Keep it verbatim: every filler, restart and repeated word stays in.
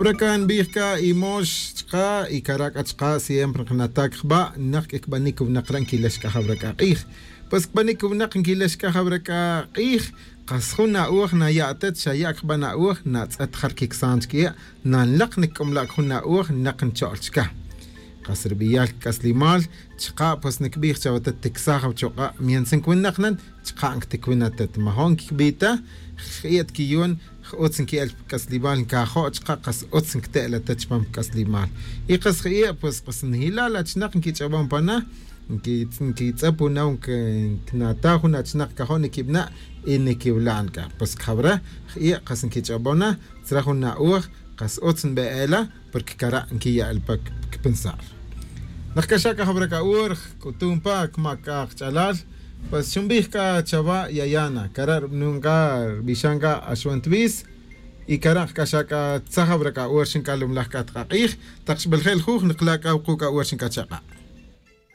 Jawra c'a nbij c'a imox chka' y cara' c'a chka' siempre nknata' cba nek c'a cbanic winak re' nquilex c'a jawra c'a k'ij. Pues cbanic winak nquilex c'a jawra c'a k'ij. Kas jun na'oj naya' atet xa ya' cban na'oj natz'et jar quicsan chiquie'. Nanlak nicc'amla' c'a jun na'oj nek ncho'l chca. Kas ri beyal c'aslimal chka' pues nicbij chawe atet ticsaj awachuk'a' mientras nquiwinak nan. Chka' nquiticwin atet majo' nquicbi ta. Ri quiyon j-utz nqui'el pa c'aslimal ncajo' chka' kas utz nquite'la ta chupam pa c'aslimal. Y kas je'e' pues kas njila' la achinak nquich'abom pana. Nquitz'ab jun aw nquinata' jun achinak cajo' niquibna' y niquiwila' nic'a pues cajawra je'e' kas nquich'abom na. Tzra jun na'oj kas utz nbe'ela porque cara' nquiya'el pa cpensar. Nak caxac ajawra c'a ur c'utum pa cmac c'a kach'alal. Pues xunbij c'a chawa' yayana cara' rubinun c'a rubixan c'a axwan twis. Y cara' k'axa' c'a tzaj awra c'a ur xinc'alumlaj c'a tak ak'ij. Tak xbel je' lujuj nikla' c'a wuku' c'a ur xinc'achak'a'.